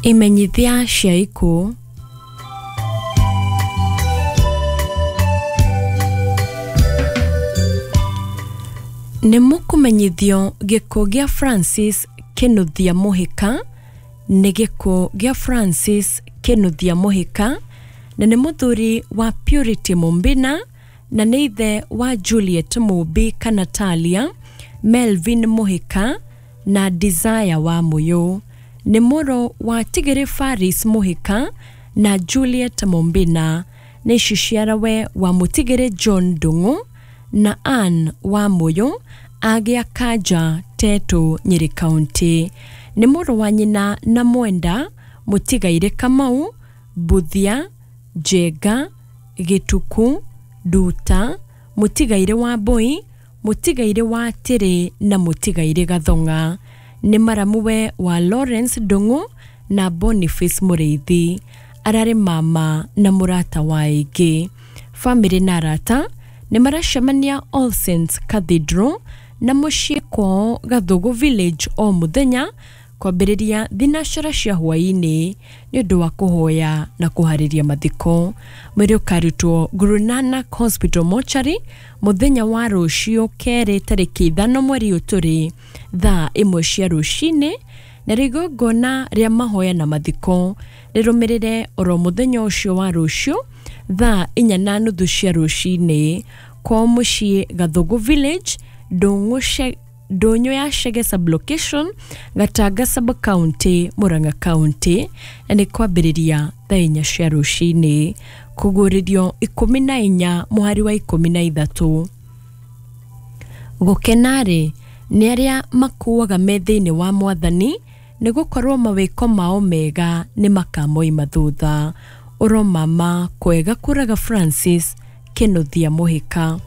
Imenyithia cia ikuũ. Nĩ mũkũmenyithio gĩkuũ gĩa Francis Kĩnuthia Mũhĩka nĩ gĩkuũ gĩa Francis Kĩnuthia Mũhĩka na nĩ mũthuri wa Purity Mũmbina na nĩ ithe wa Juliet Mũmbi kana Talia, Melvin Mũhĩka na Desire Wamũyũ. Nĩ mũrũ wa Tigĩrĩ Faris Mũhĩka na Juliet Mũmbina. Nĩ ciciarawe wa Mũtigĩrĩ John Ndung'u na Ann Wamũyũ agĩa Kanja Tetũ Nyĩrĩ County. Nĩ mũrũ wa nyina na Mwenda Mũtigairĩ Kamau, Mbuthia, Njenga, Gĩtuku, Nduta, Mũtigairĩ Wambũi, Mũtigairĩ wa Tĩrĩ na Mũtigairĩ Gathong'a. Nĩ maramuwe wa Lawrence Ndung'u na Boniface Mũrĩithi. Ararĩ mama na mũrata wa aingĩ. Famĩlĩ na arata nĩ maracemania All Saints Cathedral na mũciĩ kwao Gathugu Village o mũthenya kwambĩrĩria thinacara cia hwaĩ-inĩ nĩ ũndũ wa kũhoya na kũharĩria mathiko. Mwĩrĩ ũkarutwo Guru Nanak Hospital Mortuary mũthenya wa rũciũ kerĩ tarĩki 5 mweri ũyũ tũrĩ thaa 1 cia rũcinĩ na igongona rĩa mahoya na mathiko rĩrũmĩrĩre oro mũthenya ũcio wa rũciũ thaa 4:30 cia rũcinĩ kwao mũciĩ Gathugu Village Ndũnyũ ya Chege sub-location Gatanga sub-county Murang'a County na nĩ kwambĩrĩria thaa 4 cia rũcinĩ kũgũrĩrio 14 mũhari wa 13. Gũkena-rĩ nĩ arĩa makuaga me thĩinĩ wa Mwathani nĩ gũkorwo mawĩko mao mega nĩ makamoima thutha. Ũromama kwega kũraga Francis Kĩnuthia Mũhĩka.